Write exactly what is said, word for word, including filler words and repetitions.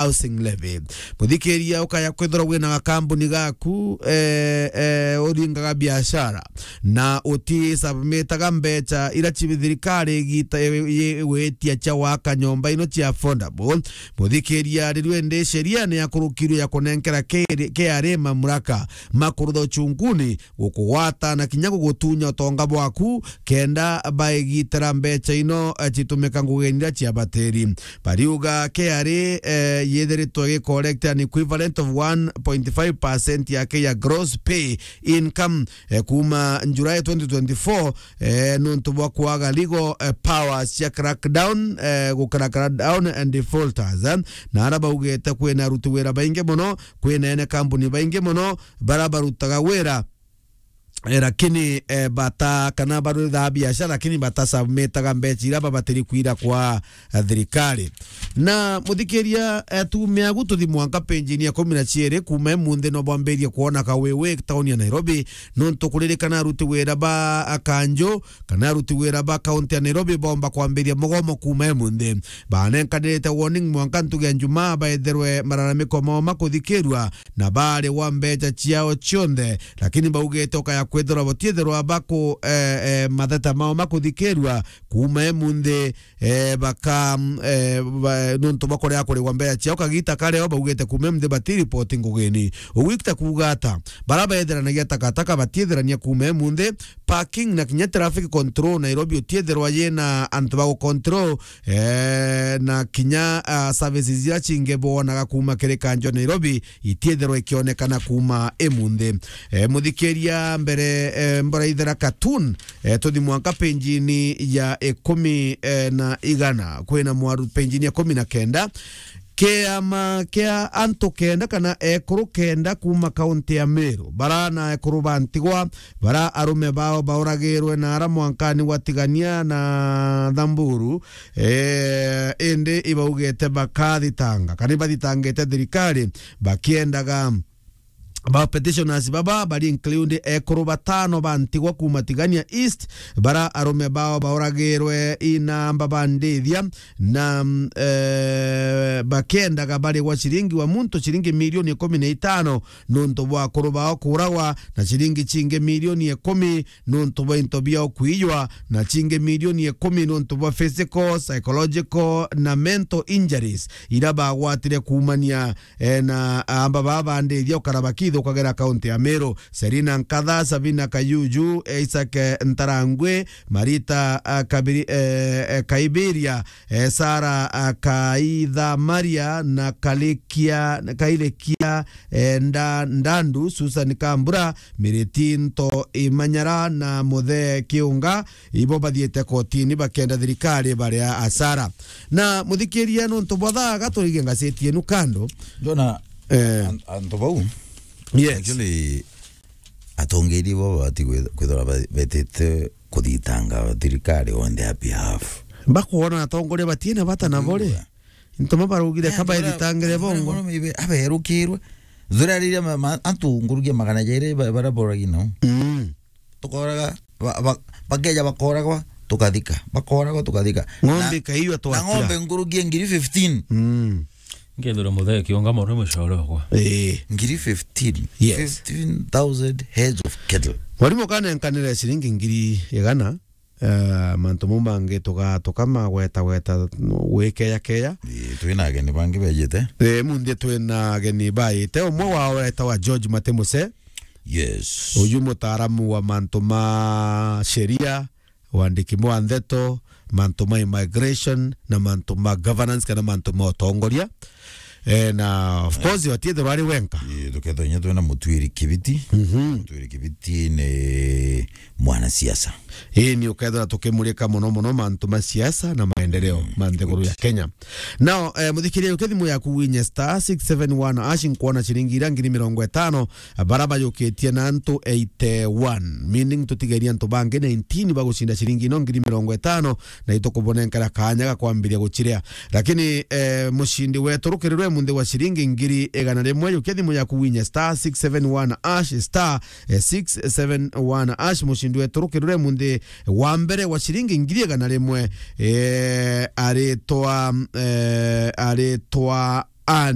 Housing Levy. Muthikiria, ukaya kwithirwa wina gakambuni gaku, eh, eh, uringaga biashara, na utisubmitaga mbeca ira ci-, thirikari igita-, i-, i-, igwitia cia waka nyomba ino cia affordable. Muthikiria, riu indi sheria ni yakurukirwe ya kunenkera K R A, K R A mamlaka ma kurutha uchunguni, gukugwata na kinya gugutunya utonga bwaku, kenda baigitira mbeca ino, eh, citumika ngugeni iria cia batiri. Bariuga K R A, eh, yithiritwe gi collect an equivalent of one point five percent yake ya gross pay income, eh, kuma July twenty twenty-four, eh, nuntu bwa kwaga legal, eh, powers cia crackdown, eh, gu crackdown and defaulters, eh. Na ara baugite kwina aruti wira baingi mono, kwina ene kambuni baingi mono, bara barutaga wira, eh, lakini, eh, bata, kana baruthaga biashara, lakini batasubmitaga mbeca iria babatiri kwira kwa, eh, thirikari. Na muthikiria, eh, tumia agu tuthi mwanka page-ini ya ikumi na ciiri, kuma imunthi no bwambirie kwona kawiwi tauni ya Nairobi, nuntu kuririkana aruti wira ba, ah, kanju, kana aruti wira ba kaunti ya Nairobi bomba kwambiria mugomo kuma imunthi. Banenkanirite warning mwanka ntugu ya Njumaa baetherwe malalamiko mao makuthikirua na bari wa mbeca ciao cionthe, lakini baugite ukaya kwithirwa batietherwa baku, eh, eh, matheta mao makuthikirua kuma imunthi, eh, baka, mm, eh, ba, nuntu bakorea kurigwa mbeca ciao kagita kareo, baugite kuma imunthi batiripoti ngugini. Ugwikita kuuga ata? Bara baetheranagia takataka batietherania kuma imunthi, parking na kinya traffic control Nairobi utietherwa yina antu ba gucontrol, eh, na kinya, ah, services iria cingi bwonaga kuma kiri kanju Nairobi itietherwa ikionekana kuma imunthi. Eh, muthikiria mbere, eh, mbora ithera cartoon, eh, tuthi mwanka page-ini ya ikumi, eh, na igana, kwina mwaru page-ini ya ikumi na kenda. Kiama kia antu kenda kana ekuru kenda kuma kaunti ya Meru, bara na ekuru ba ntigwa, bara arume bao bauragirwe na ara mwankani gwa Tigania na Thamburu, eh, indi ibaugite bakathitanga, kana ibathitangite thirikari, bakiendaga ba petitioners baba bari include ekuru batano ba ntigwa kuma Tigania East, bara arume bao bauragirwe ina mbaba ndithia, na, mm, eh, bakiendaga barigwa ciringi wa muntu ciringi milioni ikumi na itano nuntu bwa akuru bao kuragwa, na ciringi cingi milioni ikumi nuntu bwa into biao kuiywa, na cingi milioni ikumi nuntu bwa physical, psychological na mental injuries ira bagwatire kuumania, eh, na amba baba ndithia ukara bakithukagera kaunti ya Meru. Serina Nkatha, Sabina Kayuju, Isaac, eh, Ntarangwi, Marita, ah, Kabiri-, eh, eh, Kaibiria, eh, Sara, ah, Kaitha Maria na Kalikia, Kailekia, eh, Nda-, Ndandu, Susan Kambura, Miriti Nto Imanyara na Muthe Kiunga, ibo bathiite kotini bakenda thirikari baria asara. Na muthikiria, nuntu bwa thaa, gaturige ngaceti yenu kando. Ndona Eh. an-, antu bau. Yes. Actually, atongeria bo babati kwithirwa ba-, betite kuthitanga thirikari on their behalf. Bakwona atongoria batiena bata nabo ri? Ntuma baraugire ka baithitangire bongo. Aberukirwe. Thura riria ma-, ma-, antu ngurugia magana jairi ba-, bara boragi nao. Mm. Tukoraga, ba-, ba-, bakeja bakoragwa, tukathika. Bakoragwa, tukathika. Ng'ombe Na, ikaiywa na twakira. Ng'ombe ngurugia ngiri fifteen. Mm. Ngethira Muthe Kiunga mono mucore okwa. Eh. Ngiri fifteen. Yes. Fifteen thousand heads of cattle. Mwarimu kanenkanire ciringi ngiri igana, eh, mantu mau mangi tuga-, tukamagweta gweta gwikeya keya. Ii, twina ageni bangi bejite. Eh, munthi twina ageni baite. Umwe wao etawa George Matemuse. Yes. Uyu mutaaramu wa mantu ma sheria, wandiki mwa ndeto, mantu ma immigration, na mantu ma governance, kana mantu ma utongoria. Eh, na of course, watiethirwa ari wenka. Ii, tukethwa inya twina Mutwiri Kibiti. Mhm. Mutwiri Kibiti ni mwanasiasa. Ii, ni ukethira tukimurika muno muno mantu ma siasa na maendeleo ma nthiguru ya Kenya. Now, eh, muthikiria, uke thimu yaku winye star six seven one hash, nkwona ciringi ira ngiri mirongo itano, bara bajukitie na antu eighty-one, meaning tutigeria antu bangi nineteen bagucinda ciringi ino ngiri mirongo itano, na itukubonenkera kanya ga kwambiria guciria. Lakini, eh, mucindi wetu rukirirwe munthi wa ciringi ngiri igana rimwe, yukia thimu yaku winye star six seven one hash, star, eh, six seven one hash, mucindi wetu rukirirwe munthi wa mbere wa ciringi ngiri igana rimwe, eh, aritwa, eh, aritwa and